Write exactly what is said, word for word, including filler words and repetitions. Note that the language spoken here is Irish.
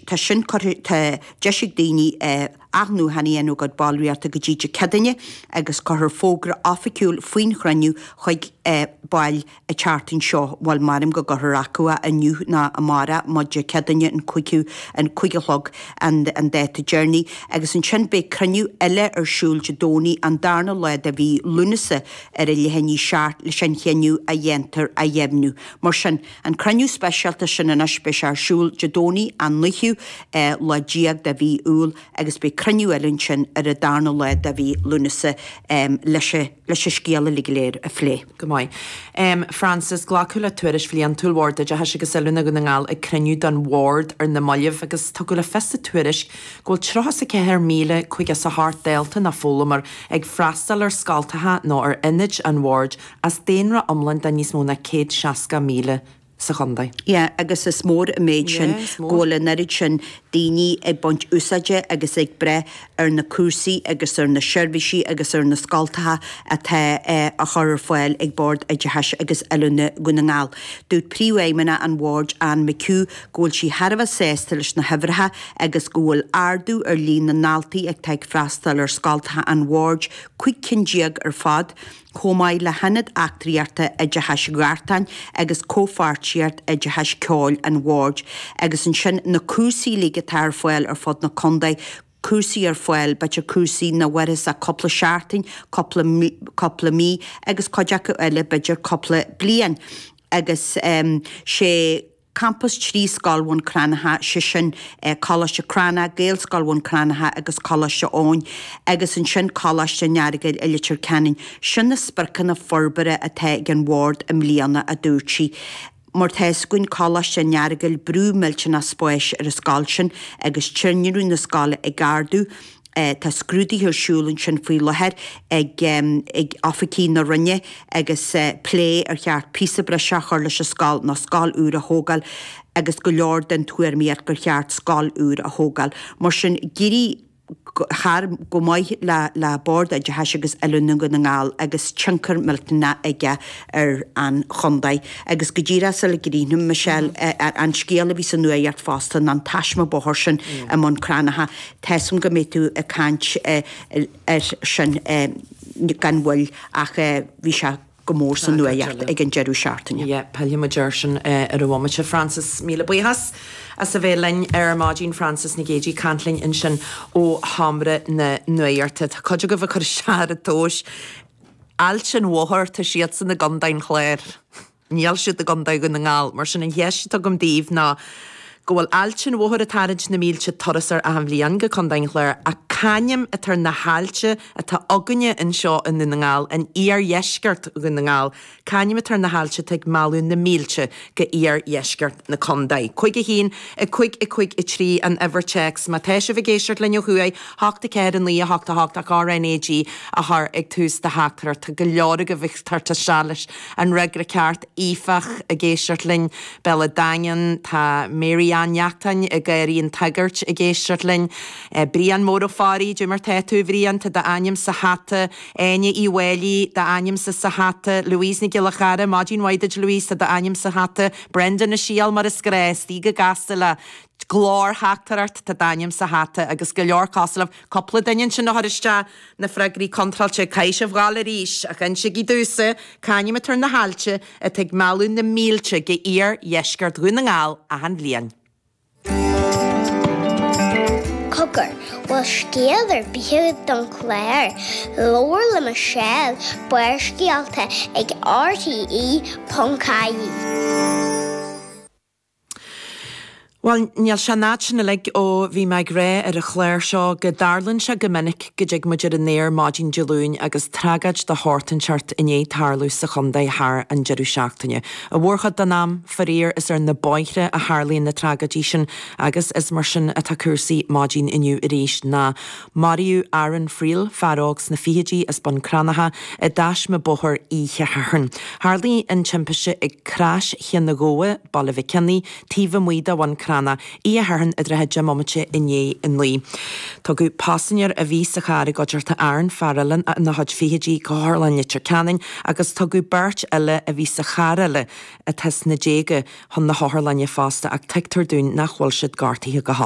Tá sin curtha tá deis ag daoine athnuachan a dhéanamh a gcuid ballraíochta go dtí Dé Céadaoine agus cuirfear fógra oifigiúil faoin chruinniú chuig baill an tseachtain seo, bhuel maram go gcuirfear acu é inniu nó amárach mar Dé Céadaoine an cúigiú an cúig a chlog an an dáta deireanaí agus ansin beidh cruinniú eile ar siúl Dé Domhnaigh an darna lá de mhí Lúnasa ar a leath i ndiaidh a seacht leis an chinneadh a dhéantar a dheimhniú. Mar sin, an cruinniú speisialta sin anois beidh sé ar siúl Dé Domhnaigh an naoú lá déag de mhí Iúil agus beidh cruinniú eile ansin ar an darna lá de mhí Lúnasa leis leis an scéal uilig go léir a phlé. Go maith. Um, Francis, glacadh le tuairisc bhliantúil Bhord Oideachais agus Oiliúna Dhún na nGall ag cruinniú den Bhord ar na mallaibh agus tugadh le fios sa tuairisc go bhfuil tríocha a ceathair míle cúig is a hocht dalta nó foghlaimeoir ag freastal ar scoltacha nó ar ionaid an bhoird as daonra iomlán de níos mó ná céad seasca míle sa chontae. Yeah, agus is mór an méid sin Yeah, is mór. go bhfuil an oiread sin daoine ag baint úsáide agus ag breith ar na cúrsaí agus ar na seirbhísí agus ar na scoltacha atá eh, á chur ar fáil ag Bord Oideachais agus Oiliúna Dhún na nGall. Dúirt príomhfheidhmeannach an bhoird Ann McHugh go bhfuil sí thar a bheith sásta leis na huimhreacha agus go bhfuil ardú ar líon na ndaltaí atá ag freastal ar scoltacha an bhoird cúig cinn déag ar fad, chomh maith le hionad eachtraíochta oideachais Ghartáin agus comhpháirtíocht oideachais ceoil an bhoird agus ansin na cúrsaí uilig atá ar fáil ar fud na contae, cúrsaí ar fáil b'fhéidir cúrsaí nach mhairfeas ach cúpla seachtain, cúpla cúpla mí agus cuid acu eile b'fhéidir cúpla bliain. Agus um, sé Campus trí Scoil Bhun Cranncha sé sin eh, Coláiste Crannach, Gaelscoil Bhun Cranncha agus Coláiste Eoin agus ansin Coláiste an Earagail i Leitir Ceanainn. Sin na spriocanna forbartha atá ag an bhord i mbliana a dúirt sí. Mar tá a fhios againn Coláiste an Earagail brú millteanach spáis ar an scoil sin agus tinreamh na scoile ag ardú. Eh, tá scrúduithe ar siúl ansin faoi láthair ag, um, ag oifigigh na Roinne agus uh, plé ar cheart píosa breise a chur leis an scoil nó scoil úr a thógáil agus go leor den tuairimíocht gur cheart scoil úr a thógáil. Mar sin d'éirigh thar go maith le le Bord Oideachais agus Oiliúna Dhún na nGall agus tionchar millteanach aige ar an chontae. Agus go díreach sula gcríochnú Michelle an scéal a bhí sa nuacht fosta an taisme bóthair sin i mBun Cranncha. Tá a fhios agam go mbeidh tú ag caint ar sin gan mhoill ach bhí sé go mór sa nuacht ag an deireadh seachtaine. Yeah, pillfidh muid air sin ar an bhomaite Francis míle buíochas as a bheith linn ar maidin Francis Nic Géadaigh ag caint linn ansin ó sheomra na nuachta. Tá cuid agaibh ag cur isteach ar an tomhas. Ailt an Mhothair tá siadsan i gContae an Chláir. Níl siad i gContae Dhún na nGall, mar sin an cheist atá agam daoibh ná go bhfuil Ailt an Mhothair ag tarraingt na mílte turasóir achan bhliain go Contae an Chláir ach c'ainm atá ar na hailte atá againne anseo i nDún na nGall in iardheisceart Dhún na nGall, c'ainm atá ar na hailte atá ag mealladh na mílte go iardheisceart na contae. Cúig a haon, a cúig a cúig a trí an uimhir téacs, má tá sibh ag éisteacht linn ó thuaidh, hocht a ceathair a naoi a hocht a hocht ach RNAG a chur ag tús do theachtaireacht. Tá go leor agaibh ag tabhairt isteach leis an fhreagra ceart Aoifeach ag éisteacht linn, Béal an Daingin, tá Mary Ann Neachtain i Garraí an tSagairt ag éisteacht linn, Brian Mór Ó Fearraigh, Cad é mar tá tú Bhrian, tá d'ainm sa hata, Áine Uí Mháilí, d'ainmse sa hata, Louise Nic Giolla Chara, maidin mhaith duit Louise, tá d'ainm sa hata, Brendan Ó Siadhail mar is gnách, istigh go gasta le glórtheachtaireacht tá d'ainm sa hata agus go leor cosúil libh cúpla duine ansin a chuir isteach na freagraí contráilte caithfidh sibh ghabháil arís ach insígí domhsa c'ainm atá ar na hailte atá ag mealladh na mílte go iardheisceart Dhún na nGall achan bhliain. Cogar, bhfuil scéal ar bith don chlár, Labhair le Michelle Barrscéalta ag RTE.ie. Bhuel, níl sé an fhad sin uilig ó bhí mé ag rá ar an chlár seo go dtarlaíonn sé go minic go dtig muid ar an aer maidin Dé Luain agus tragóid de shórt inteacht i ndiaidh tarlú sa chontae thar an deireadh seachtaine. I mórchuid den am, faraor, is ar na bóithre a tharlaíonn na tragóidí sin agus is mar sin atá cúrsaí maidin inniu arís ná maraíodh Aaron Friel, fear óg sna fichidí as Bun Cranncha, i dtaisme bóthair oíche Shathairn. Tharlaigh an timpiste ag Crois Chionn na Gabha, Baile Mhic Cionnaith, taobh amuigh de Bhun Cranncha Crannach oíche Shathairn i dtrátha deich mbomaite i ndiaidh a naoi. Tugadh paisinéir a bhí sa charr i gcuideachta Aaron, fear eile ina chuid fichidí, go hOtharlann Leitir Ceanainn agus tugadh beirt eile a bhí sa charr eile atá sna déaga chun na hotharlainne fosta ach tuigtear dúinn nach bhfuil siad gortaithe go holc.